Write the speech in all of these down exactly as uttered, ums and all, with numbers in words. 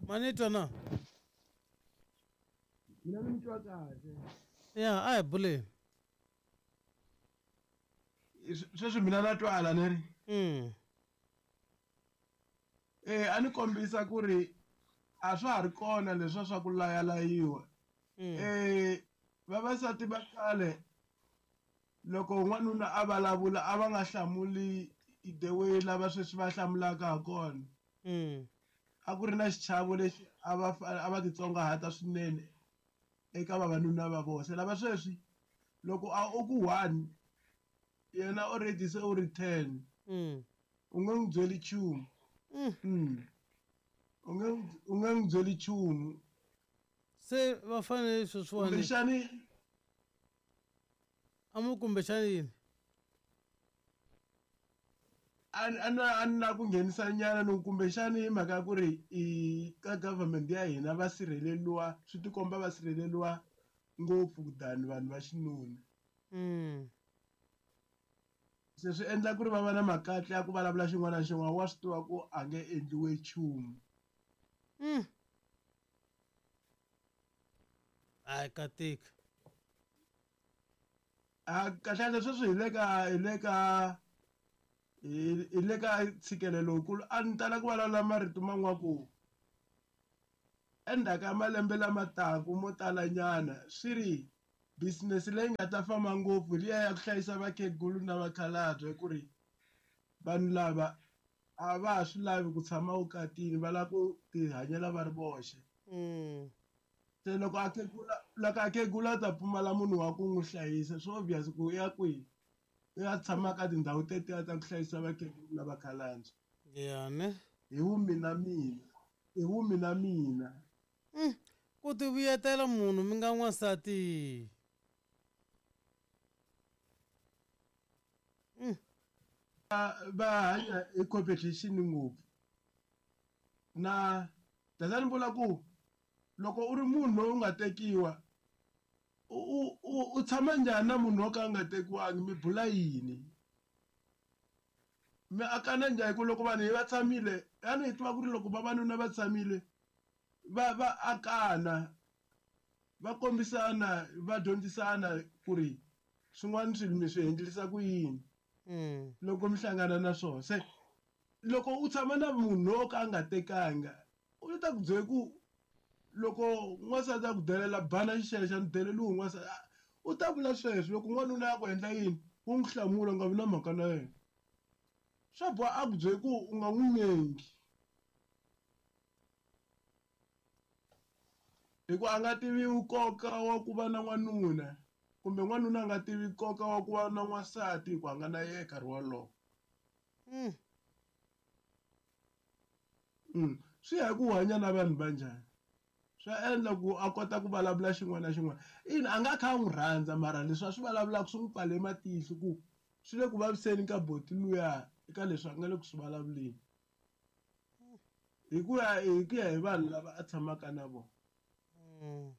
Mani twa na? Mina ni mi twa kahle. Ya, a hi buleni. Sweswi mina na twala ni ri. Mm. Eh, a ni kombisa ku ri a swa ha ri kona leswa swa ku layalayiwa. Mm. Eh, vavasati va khale loko n'wanuna a vulavula a va nga hlamuli the way lava sweswi va hlamulaka ha kona. Mm. A ku ri na xichavo lexi a va a va titsongahata swinene eka vavanuna va vona. Se lava sweswi loko a u ku one yena already se u ri ten. Mm. U nge n'wi byeli nchumu. Mm. Mm. U nge u nge n'wi byeli nchumu. Se va fanele sweswiwani. Kumbexani a mu kumbexani yini? A na a na ku nghenisa nyana no kumbexani hi mhaka ya ku ri i ka government ya hina va sirheleliwa, swi tikomba va sirheleliwa ngopfu than vanhu va xinuna. Mm. Se swi endla ku ri va va na makatla ya ku vulavula xin'wana na xin'wana, wa swi tiva ku a nge endliwi nchumu. Mm. Ai ka tika. A kahle kahle sweswi hi le ka hi le ka hi le ka ntshikelelo lowukulu. A ni tala ku vulavula marito man'wana ku endzhaku ka malembe lama taka mo talanyana swi ri business leyi nga ta famba ngopfu liya ya ku hlayisa vakhegulu na vakhalabye, ku ri vanhu lava a va ha swi lavi ku tshama vukatini, va lava ku tihanyela va ri voxe. Mm. Se loko a khegula loko a khegula u ta pfumala munhu wa ku n'wi hlayisa, swi obvious ku u ya kwihi, u ya tshama ka tindhawu tetiya ta ku hlayisa vakhegulu na vakhalabye. Ya ne? Hi vumina mina, hi vumina mina. Mm. Ku ti vuyetela munhu mi nga n'wansati. Mm. Va hanya hi competition ngopfu. Na tata ni vula ku loko u ri munhu loyi u nga tekiwa u u u tshama njhani na munhu wo ka a nga tekiwangi, mi bula yini? Mi akana njhani? Ku loko vanhu va tshamile, yani hi tiva ku ri loko vavanuna va tshamile va va akana, va kombisana, va dyondzisana ku ri swin'wana swilo mi swi endlisa ku yini. Mm. Loko mi hlangana na swona. Se loko u tshama na munhu lowo ka a nga tekanga, u ta ku byela ku loko n'wansati a ku delela bana xixexa ni deleliwe n'wansati, u ta vula sweswo. Loko n'wanuna a ku endla yini, u n'wi hlamula u nga vi na mhaka na yena. Swa boha a ku byela ku u nga n'wi nyengi, hikuva a nga tivi nkoka wa ku va na n'wanuna, kumbe n'wanuna a nga tivi nkoka wa ku va na n'wansati hikuva a nga na yena nkarhi wolowo. Mm. Mm. Swi ya hi ku hanya na vanhu va njhani. Swa endla ku a kota ku vulavula xin'wana na xin'wana. Ina a nga kha a n'wi rhandza, mara leswi a swi vulavulaka swi n'wi pfale matihlo ku swi le ku vaviseni ka boti luya eka leswi a nga le ku swi vulavuleni. Hi ku ya hi ku ya hi vanhu lava a tshamaka na vona. Mm.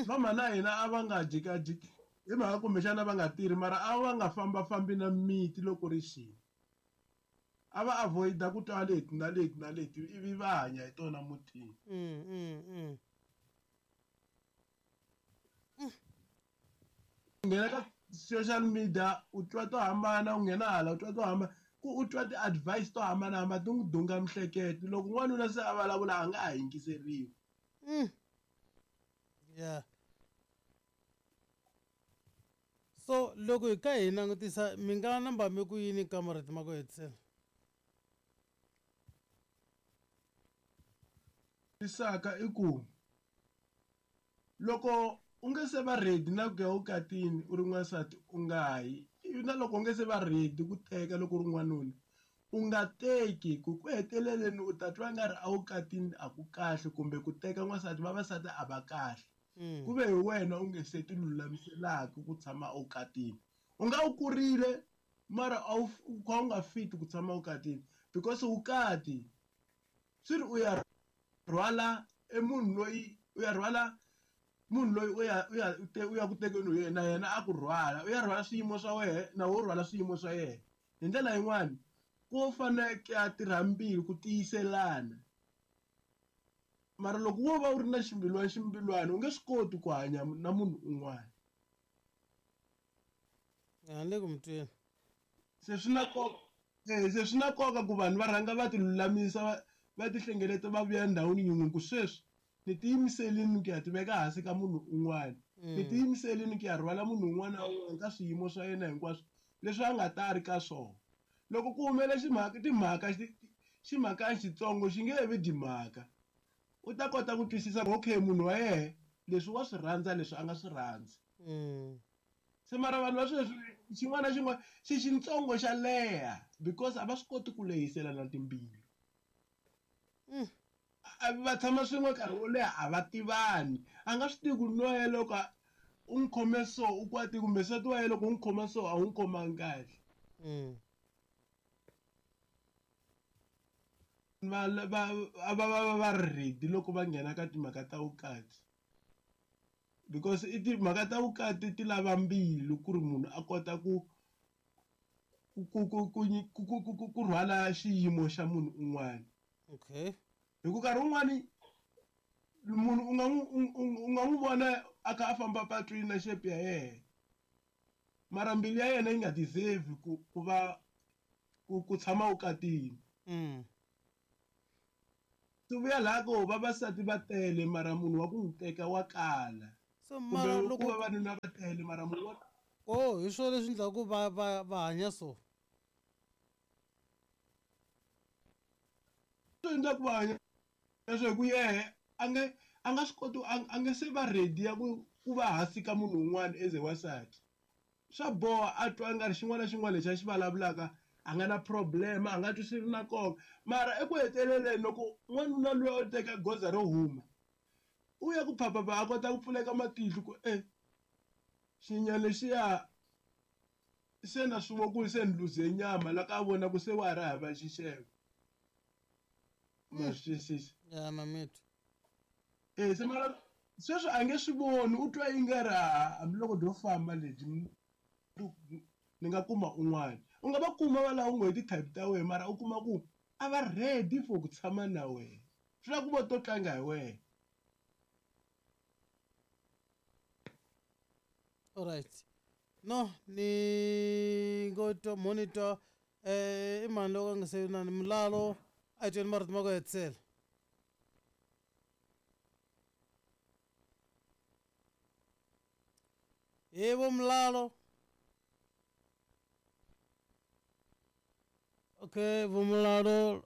Vamhana na hina a va nga jikajiki hi mhaka kumbexana va nga tirhi, mara a va nga fambafambi na miti loko ri xini. A va avoid-a ku twa leti na leti na leti ivi va hanya hi tona mutini. Mm, mm, mm. U nghena ka social media u twa to hambana, u nghena hala u twa to hambana, ku u twa ti-advice to hambanahambana ti n'wi dunga miehleketo. Loko n'wanuna se a vulavula a nga ha yingiseriwi. Mm. Yeah. So loko hi ka hi langutisa mi nga namba mi ku yini ka marito ma ku hetisela? Tisaka i ku loko u nge se va ready na ku ya vukatini u ri n'wansati u nga yi, ivi na loko u nge se va ready ku teka loko u ri n'wanuna u nga teki, ku ku heteleleni u ta twa nga ri a vukatini a ku kahle, kumbe ku teka n'wansati vavasati a va kahle. Mm. Ku ve hi wena u nge se ti lulamiselaka ku tshama evukatini. U nga u kurile mara a wu u kha u nga fit ku tshama evukatini, because vukati swi ri u ya rhwala e munhu loyi u ya rhwala munhu loyi u ya u ya u te u ya ku tekeni hi yena, na yena a ku rhwala, u ya rhwala swiyimo swa wena na wo rhwala swiyimo swa yena. Hi ndlela yin'wani ku faneke a tirha mbilu ku tiyiselana. Mara loko wo va u ri na ximbilwana ximbilwana u nge swi koti ku hanya na munhu un'wana. A ni le ku mi tweni. Se swi na nkoka eh se swi na nkoka ku vanhu va rhanga va ti lulamisa va va ti hlengeleta va vuya ndhawini yin'we ku sweswi ni tiyimiselini ku ya ti veka hansi ka munhu un'wana. Ni tiyimiselini ku ya rhwala munhu un'wana na un'wana ka swiyimo swa yena hinkwaswo leswi a nga ta ri ka swona. Loko ku humele ximhaka timhaka ximhaka xitsongo xi nge vi timhaka. U ta kota ku twisisa ku okay munhu wa yehe leswi wa swi rhandza leswi a nga swi rhandzi. Se mara vanhu va sweswi xin'wana na xin'wana xi xitsongo xa leha because a va swi koti ku lehiselana timbilu. Va tshama swin'we nkarhi wo leha a va tivani. A nga swi tivi ku nwa ya loko u n'wi khome so u kwatile kumbe nsati wa yena loko u n'wi khoma so a wu n'wi khomangi kahle. Va va va va va ri ready loko va nghena ka timhaka ta vukati. Because i timhaka ta vukati ti lava mbilu ku ri munhu a kota ku ku ku ku ku ku ku ku rhwala xiyimo xa munhu un'wana. Okay. Hi ku nkarhi wun'wani munhu u nga n'wi u nga n'wi vona a kha a famba patwini na shape ya yena mara mbilu ya yena yi nga deserve ku ku va ku ku tshama vukatini. Mm. Swi vuya laha ko vavasati va tele mara munhu wa ku n'wi teka wa kala. So mara Kumbe loko ku vavanuna va tele mara munhu wa oh hi swona leswi endlaku va va va hanya so. Swi endla ku va hanya leswi hi ku yehe a nge a nga swi koti a nge se va ready ya ku ku va hansi ka munhu un'wana as a wansati. Swa boha a twa nga ri xin'wana na xin'wana lexi a xi vulavulaka a nga na problem a nga twi swi ri na nkoka mara eku heteleleni loko n'wanuna luya o teka goza ro huma u ya ku phaphapha a kota ku pfuleka matihlo ku e xinyama lexiya se na swi vo ku se ni luze nyama la ka vona ku se wa ha ri hava xixevo. Ma swi twisisa? Ya na mitwa. Eh se mara sweswi a nge swi voni u twa yi nga ri hambiloko ndo famba lebyi ni nga kuma un'wana. U nga va kuma va lava u ngo hi ti-type ta wena mara u kuma ku a va ready for ku tshama na wena. Swi lava ku vo to tlanga hi wena. Alright. No, ni ngo twa monitor eh i mani loko a nga se na ni mulalo a hi tweni marito ma ku hetisela. Yebo mulalo. Okay, vumulalo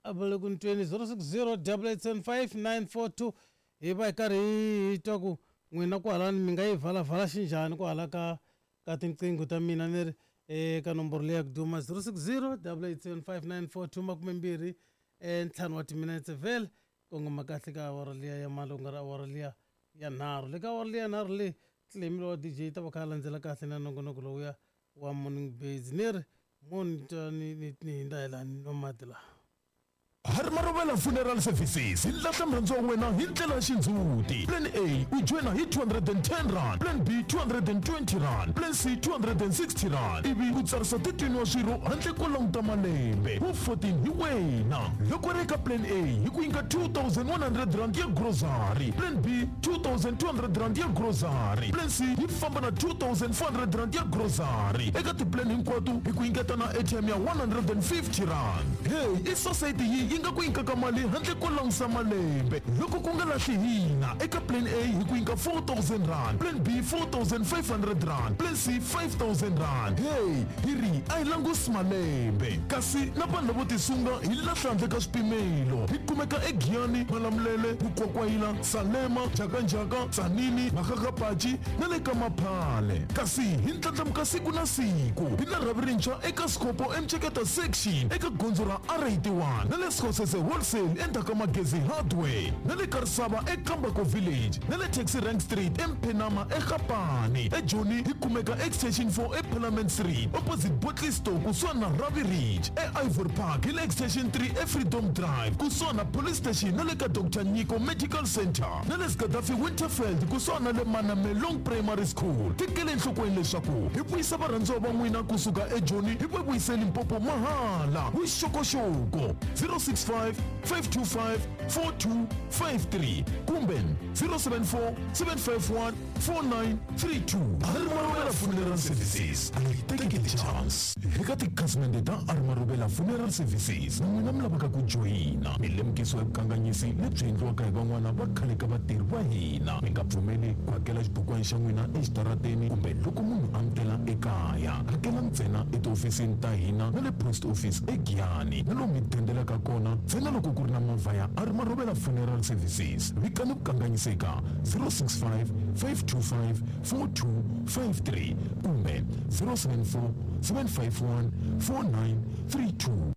a va le ku ni tweni zero six zero double eight seven five nine four two hi va hi karhi hi twa ku n'wina kwalani mi nga yi valavala xinjhani kwahala ka ka tinqingho ta mina ni ri eka nomboro leyi ya ku duma zero six zero double eight seven five nine four two makume mbirhi ntlhanu wa timinetse vhele kongoma kahle ka awara liya ya mali ku nga ri awara liya ya nharhu le ka awara liya nharhu leyi tlilemi lowa D J yi ta va kha a landzela kahle na nongonoko lowuya wa morning base ni ri moni twa ni ni ni hindza hi laha ni nwa mati laha. Harimarovela Funeral Services hi lahla murhandzi wa wena hi ndlela ya xindzhuti. Plan A u joyina hi two hundred and ten rand, Plan B two hundred and twenty rand, Plan C two hundred and sixty rand. Ivi u tsarisa thirteen wa swirho handle ko languta malembe. Wu fourteen hi wena. Loko ri eka Plan A hi ku nyika two thousand one hundred rand ya grocery, Plan B two thousand two hundred rand ya grocery, Plan C yi famba na two thousand four hundred rand ya grocery. Eka ti-plan hinkwato hi ku nyiketa na airtime ya one hundred and fifty rand. Hey, i society yi yi nga ku nyikaka mali handle ko langusa malembe. Loko ku nga lahli hina eka Plan A hi ku nyika four thousand rand, Plan B four thousand five hundred rand, Plan C five thousand rand. Hey, hi ri a hi langusi malembe. Kasi na vanhu lavo tisunga hi lahla handle ka swipimelo. Hi kumeka eGiyani, Malamulele, Mukwakwayila, Salema, Jakanjaka, Tzaneen, Makgakgapachi na le ka Maphale. Kasi hi ndlandlamuka siku na siku. Hi na rhavi rintshwa eka Scopo eMceketa section eka gondzo ra R eighty-one na le Skhosese Wholesale endzhaku ka Magezi Hardware na le Karisava eKambako Village na le Taxi Rank Street eMphenama eGapani. eJoni hi kumeka Extension four eParliament Street opposite Botley Store kusuhani na Ravi Ridge. E-Ivory Park hi le Extension three eFreedom Drive kusuhani na Police Station na le ka Doctor Nyiko Medical Center na le Gaddafi Winterfeld kusuhani na le Manamelong Primary School. Tekele enhlokweni leswaku hi vuyisa varhandziwa va n'wina kusuka eJoni hi va vuyise Limpopo mahala. Vuxokoxoko zero six six five five two five four two five three kumbe zero seven four seven five one four nine three two Arimaruvela Funeral Services a yi teki ti-chance eka tikhasimende ta Arimaruvela Funeral Services na n'wina mi lavaka ku joyina mi lemukisiwa hi vukanganyisi lebyi endliwaka hi van'wana va khale ka vatirhi va hina mi nga pfumeli ku hakela xibukwana xa n'wina exitarateni kumbe loko munhu a mi tela ekaya hakela ntsena etihofisini ta hina na le post office eGiyani na lomu mi dendelaka kona ntsena loko ku ri na movha ya Arimaruvela Funeral Services vikani vukanganyisi eka zero six five five two five four two five three kumbe zero seven four seven five one four nine three two.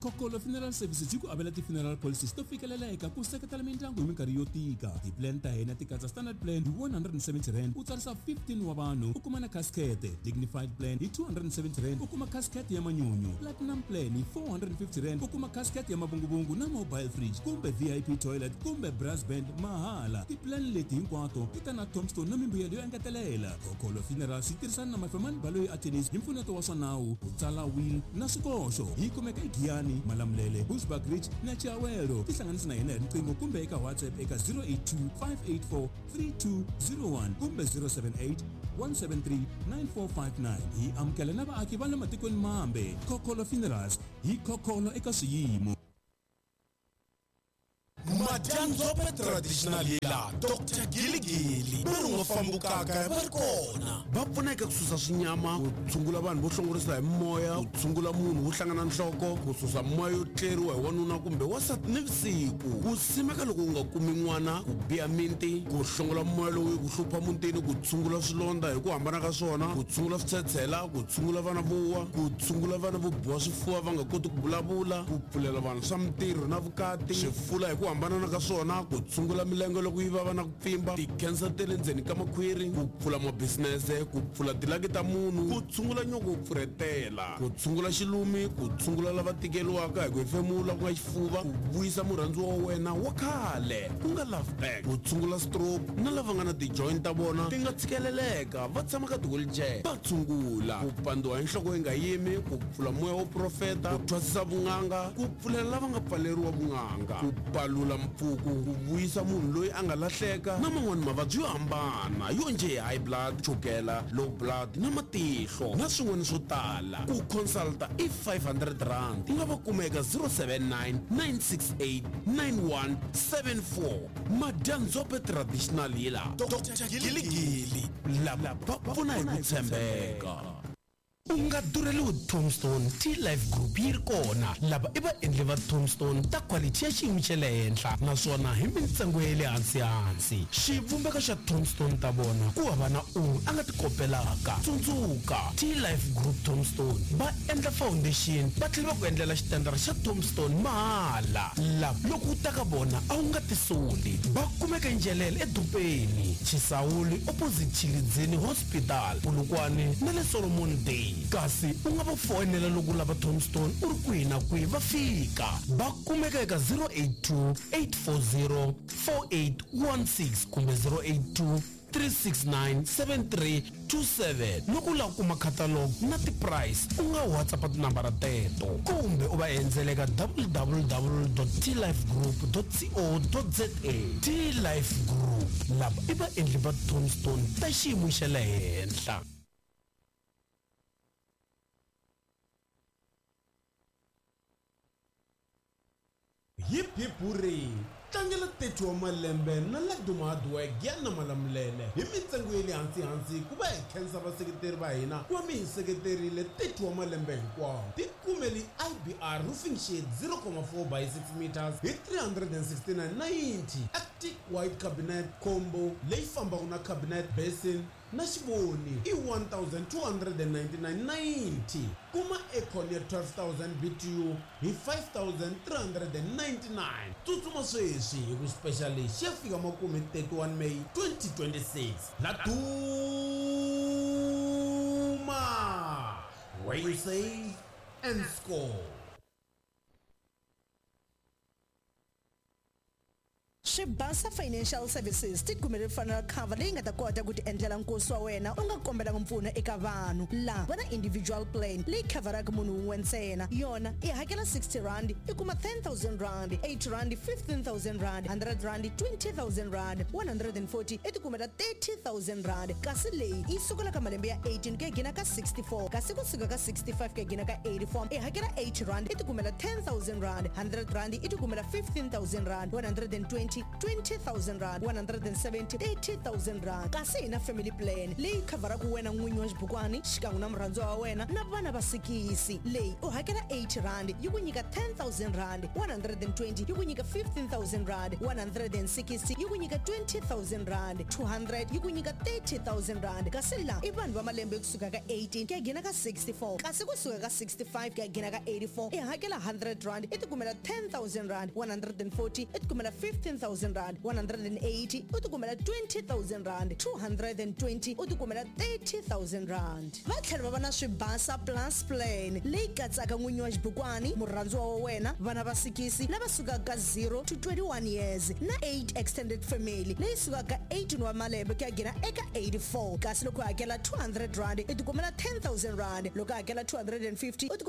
Kokolo Funeral Services yi ku avela ti-funeral policies to fikeleleka ku seketela mindyangu hi minkarhi yo tika. Ti-plan ta hina ti katsa standard plan hi one hundred and seventy rand u tsarisa fifteen wa vanhu u kuma na casket, dignified plan hi two hundred and seventy rand u kuma casket ya manyunyu, platinum plan hi four hundred and fifty rand u kuma casket ya mavunguvungu na mobile fridge kumbe V I P toilet kumbe brass band mahala. Ti-plan leti hinkwato ti ta na tombstone na mimbuyelo yo engetelela. Kokolo Funeral yi tirhisana na Mafemani Baloyi Attorneys hi mpfuneto wa swa nawu, ku tsala will na swikoxo. Yi kumeka eGiyani, Malamulele, Bushbuckridge na Chiawelo. Tihlanganisi na hina hi riqingho kumbe eka WhatsApp eka zero eight two five eight four three two zero one kumbe zero seven eight one seven three nine four five nine. Hi amukela na vaaki va le matikweni mambe. Kokolo Funerals hi kokolo eka swiyimo. Madyanzope Traditional Healer Doctor Giligili va ri nga fambukaka va ri kona va pfuneka ku susa swinyama ku tshungula vanhu vo hlongorisa hi moya ku tshungula munhu wo hlangana nhloko ku susa moya yo tleriwa hi wanuna kumbe wansati nivusiku ku simeka loko u nga kumi n'wana ku biha minti ku hlongola moya lowu ku hlupha mutini ku tshungula swilondza hi ku hambana ka swona ku tshungula switshetshela ku tshungula vana vo wa ku tshungula vana vo biwa swifuva va nga koti ku vulavula ku pfulela vanhu swa mintirho na vukati swifula hi ku hambana ka swona ku tshungula milenge loko yi vava na ku pfimba ti-cancer ta le ndzeni ka makhwiri ku pfula mabisinese ku pfula tilaki ta munhu ku tshungula nyoko wo pfurhetela ku tshungula xilumi ku tshungula lava tikeriwaka hi ku hefemula ku nga xifuva ku vuyisa murhandziwa wa wena wa khale ku nga love back ku tshungula stroke na lava nga na ti-joint ta vona ti nga tshikeleleka va tshama ka ti-wheelchair va tshungula ku pandziwa hi nhloko yi nga yimi ku pfula moya wo profeta ku thwasisa vun'anga ku pfulela lava nga pfaleriwa vun'anga ku palula mpfuku ku vuyisa munhu loyi a nga lahleka na man'wani mavabyi yo hambana yo njhe high blood chukela low blood na matihlo na swin'wana swo tala ku consulta i five hundred rand u nga va kuma eka zero seven nine nine six eight nine one seven four Madyanzope Traditional Healer Doctor Giligili lava va pfuna hi ku tshembeka. U nga durheliwi Tombstone T-Life Group yi ri kona lava i vaendli va Tombstone ta quality ya xiyimo xa le henhla naswona hi mintsengo ya le hansi-hansi xivumbeko xa Tombstone ta vona ku hava na un'we a nga ti kopelaka tsundzuka T-Life Group Tombstone va endla foundation va tlhela va ku endlela xitandara xa Tombstone mahala lava loko u ta ka vona a wu nga tisoli va kumeka Njelele edorobeni Chisawuli opposite Chilidzini Hospital Polokwane na le Solomon Day kasi u nga va foyinela loko u lava Tombstone u ri kwihi na kwihi va fika va kumeka eka zero eight two eight four zero four eight one six kumbe zero eight two three six nine seven three two seven loko u lava ku kuma catalog na ti-price u nga WhatsApp tinambara teto kumbe u va endzela eka w w w dot t life group dot co dot za T-Life Group lava i vaendli va Tombstone ta xiyimo xa le henhla. Hip hip hooray! Tlangela thirty wa malembe na Laduma Hardwork ya na Malamulele hi mintsengo ya le hansi-hansi ku va hi khensa vaseketeri va hina ku va mi hi seketerile thirty wa malembe hinkwawo. Tikumeli I B R roofing sheet zero comma four by six meters hi three hundred and sixty-nine ninety Arctic white cabinet combo leyi fambaka na cabinet basin na xivoni i one thousand two hundred and ninety-nine ninety kuma aircon ya twelve thousand B T U hi five thousand three hundred and ninety-nine tsutsuma sweswi hi ku special lexi ya fika makume thirty-one May twenty twenty-six Laduma where you save and score. Swibasa Financial Services ti kumele funeral cover leyi nga ta kota ku ti endlela nkosi wa wena u nga kombelanga mpfuno eka vanhu. Laha va na individual plan leyi khavharaka munhu wun'we ntsena. Yona i hakela sixty rand i kuma ten thousand rand, eight rand fifteen thousand rand, hundred rand twenty thousand rand, one hundred and forty i ti kumela thirty thousand rand. Kasi leyi yi sukela ka malembe ya eighteen ku ya gina ka sixty-four, kasi kusuka ka sixty-five ku ya gina ka eighty-four i hakela eight rand i ti kumela ten thousand rand, hundred rand i ti kumela fifteen thousand rand, one hundred and twenty twenty thousand rand, one hundred and seventy thirty thousand rand. Kasi hi na family plan leyi khavharaka wena n'winyi wa xibukwani xikan'we na murhandziwa wa wena na vana va sikisi. Leyi u hakela eight rand yi ku nyika ten thousand rand, one hundred and twenty yi ku nyika fifteen thousand rand, one hundred and sixty yi ku nyika twenty thousand rand, two hundred yi ku nyika thirty thousand rand. Kasi laha i vanhu va malembe kusuka ka eighteen ku ya gina ka sixty-four, kasi kusuka ka sixty-five ku ya gina ka eighty-four i hakela hundred rand i ti kumela ten thousand rand, one hundred and forty i ti kumela fifteen thousand rand, one hundred and eighty u ti kumela twenty thousand rand, two hundred and twenty u ti kumela thirty thousand rand. Va tlhela va va na Swibasa Plus Plan leyi katsaka n'winyi wa xibukwani, murhandziwa wa wena, vana va sikisi lava sukaka ka zero to twenty-one years na eight extended family leyi sukaka ka eighteen wa malembe ku ya gina eka eighty-four. Kasi loko u hakela two hundred rand i ti kumela ten thousand rand, loko u hakela two hundred and fifty u ti